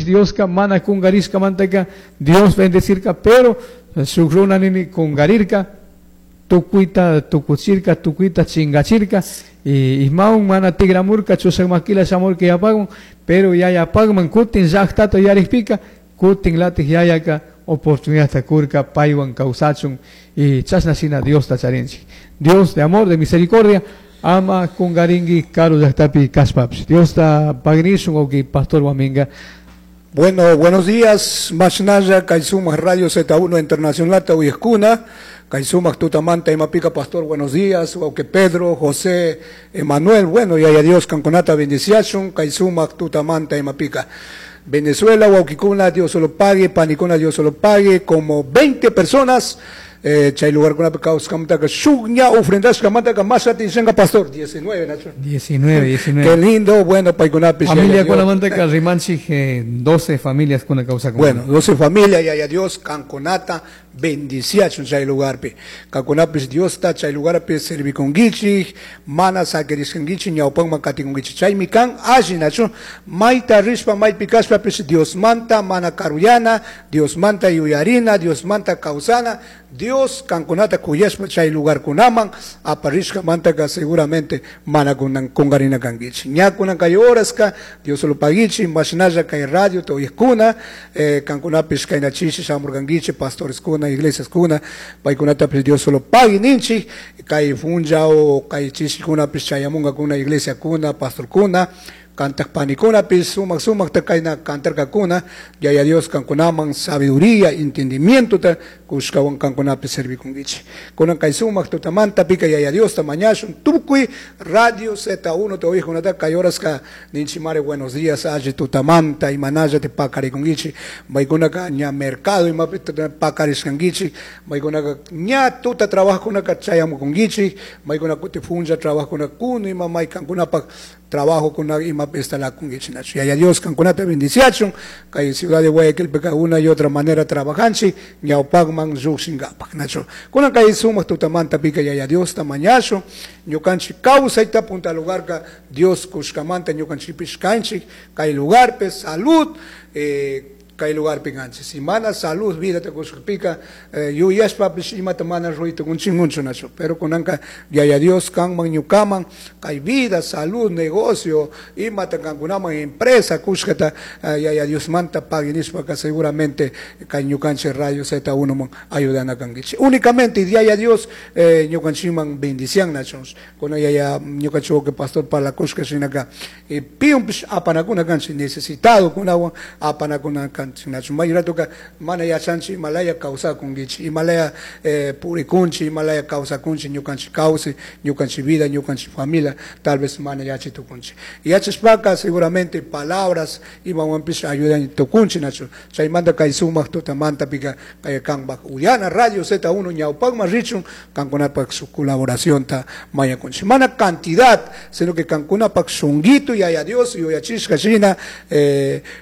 Dioska mana kungarishkamantaka Dios bendecirka, pero shuk runa nini kungarirka, tukuyta tukuchirka, tukuyta chingachirka, y imawan mana tigramurka, chushak makila shamurka yapakman, pero yayapakman kutin llaqtata yarikpika, kutin latik yayaka oportunidad kurka paywan kawsachun, y chashna shina Diosta charinchik. Dios de amor, de misericordia, ama kungarinki karu llaqtapi kashpapish. Diosta pagnishun, wawki Pastor Waminga. Bueno, buenos días, Mashnaya, Kaisumak Radio Z1 Internacional, Tauyescuna, Kaisumak Tutamanta, Imapica Pastor, buenos días, Wauke Pedro, José, Emanuel, bueno, y a Dios, Canconata, bendiciachun, Kaisumak Tutamanta, Imapica. Venezuela, Wauquicuna, Dios solo pague, Panicuna, Dios solo pague, como 20 personas, chay lugar con la shugña ofrendas kamanta más atención pastor 19, Nacho. 19, 19. Qué lindo, bueno, paikunapis. Familia con la manteca rimanchi, 12 familias con la causa común. Bueno, 12 familias, y a Dios, canconata, bendiciachun chay lugarpi. Canconapis Dios ta chay lugarpi serviconguichi, mana saqueriscanguichi, ñaupangman katikunguichi. Chay mikan alli, Nacho, maita rispa, maipicaspa, pis Dios manta, mana karuyana, Dios manta yuyarina, Dios manta causana, Dios canconata kuyashpa chay lugar kunaman aparishka mantaka seguramente mana kunan kungarina kangichi. Ña kunan kay horaska, Dios lo pagichi, mashinaya kay radio toyeskuna, kankunapis kay nachishi shamurgangichi, pastores kuna, iglesias kuna, paykunata pis Dios solo pagui ninchi, kay funja o kay chishi kuna pis chayamunga kuna, iglesia kuna, pastor kuna, cantak panikuna pis sumak sumak ta kayna kantarka kuna, yaya Dios kankunaman sabiduría, entendimiento ta kushkawan kankunapi servikungichi. Kunan kay sumak tutamanta pika yaya Dios ta mañashun tukuy Radio Z1 te oijo nata kay horas ka ninchimare buenos días aye tutamanta imanaya te pakarikungichi, maykuna ka ña mercado imapi pakariskangichi, maykuna ka ña tuta trabajo kuna ka chayamukungichi, maykuna kuti funja trabajo kuna kunu ima maykankunapak trabajo con la ima pesta la kungichi nacho. Yaya Dios kankunata bendiciachun, kay ciudad de Guayaquil peka una y otra manera trabajanchi, ñaupagman llukshingapak nacho. Kunan kay sumak tutamanta pika yaya Dios tamañacho, ñukanchi kawsayta punta lugar ka Dios kushkamanta ñukanchi pishkanchi, kay lugar pe salud, kay lugar pinganchi. Si mana salud, vida te kushkapika, yuyashpa pish imata mana ruito kunchingunchu nacho. Pero kunanka yaya Dios kanman ñukaman, kay vida, salud, negocio, imata kankunaman empresa kushkata, yaya Dios manta paginishpa ka seguramente kay ñukanchi Radio Z1 man ayudana kankichi. Únicamente yaya Dios, ñukanchiman bendician nacho. Kuna yaya ñukanchi que pastor para la kushka shinaka, piun pish apanakuna kanchi necesitado kunawan apanakuna kanchi. Nacho mayra toca mana yachanchi Himalaya causa kungichi Himalaya, purikunchi Himalaya causa kunchi ñukanchi causi ñukanchi vida ñukanchi familia tal vez mana yachi tukunchi yachashpaka seguramente palabras imawanpish ayudan tukunchi nacho chaymanta kay sumak tutamanta pika kay kanpak Uyana Radio Z1 ñawpakman richun kankunapak su colaboración ta mayakunchi mana cantidad sino que kankunapak shunguito yaya Dios yuyachishka shina,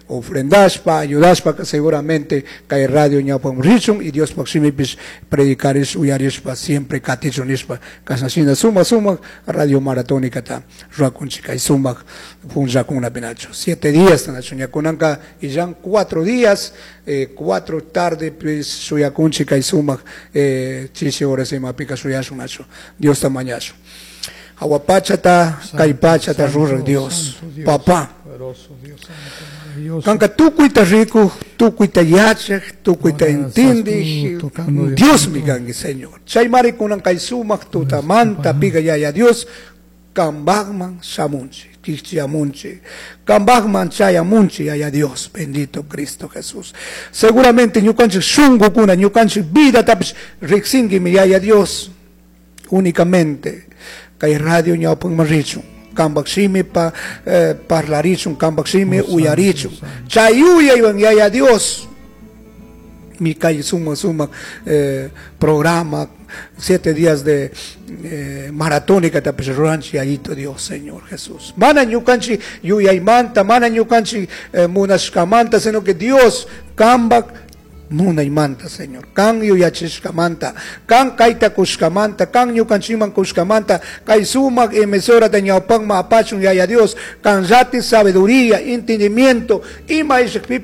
ofrendashpa ayudashpa que seguramente kay radio ñawpakman richun y Dios pakshimipis predicarish uyarishpa siempre katichunishpa kasnashina suma suma radio maratónica ta ruakunchi kay sumak punllakuna pinacho 7 días nacho ñakunanka y ya 4 días, 4 tarde pues suyakunchi kay sumak, chishi horas imapika suyashun nacho Dios tamañacho Aguapachata, Caipachata, Rurra, Dios, Papá. Kanka tukuita rico, tukuita yachaj, tukuita entendij, Dios mi kanki, Señor. Chaymari kunan kay sumak tutamanta, piga yaya Dios, kambagman shamunchi, kichiamunchi, kambagman chayamunchi, yaya Dios, bendito Cristo Jesús. Seguramente ñukanchik shungukuna, ñukanchik vida tapish riksinki mi yaya Dios, únicamente. Kay radio ñawpakman richun, kambak shimi pa, parlarichun, kambak shimi uyarichun. Chay uyaywan yaya Dios, mi kay suma suma, programa, 7 días de, maratónica tapish ruranchi yayito Dios, Señor Jesús. Mana ñukanchi yuyaymanta, mana ñukanchi, munashkamanta, sino que Dios kambak munaymanta, Señor. Kan yuyachishkamanta, kan kayta kushkamanta, kan ñukanchiman kushkamanta, kay sumak emisora de ñawpakma apachun yaya Dios, kan llati sabiduría, entendimiento, ima ishikpipis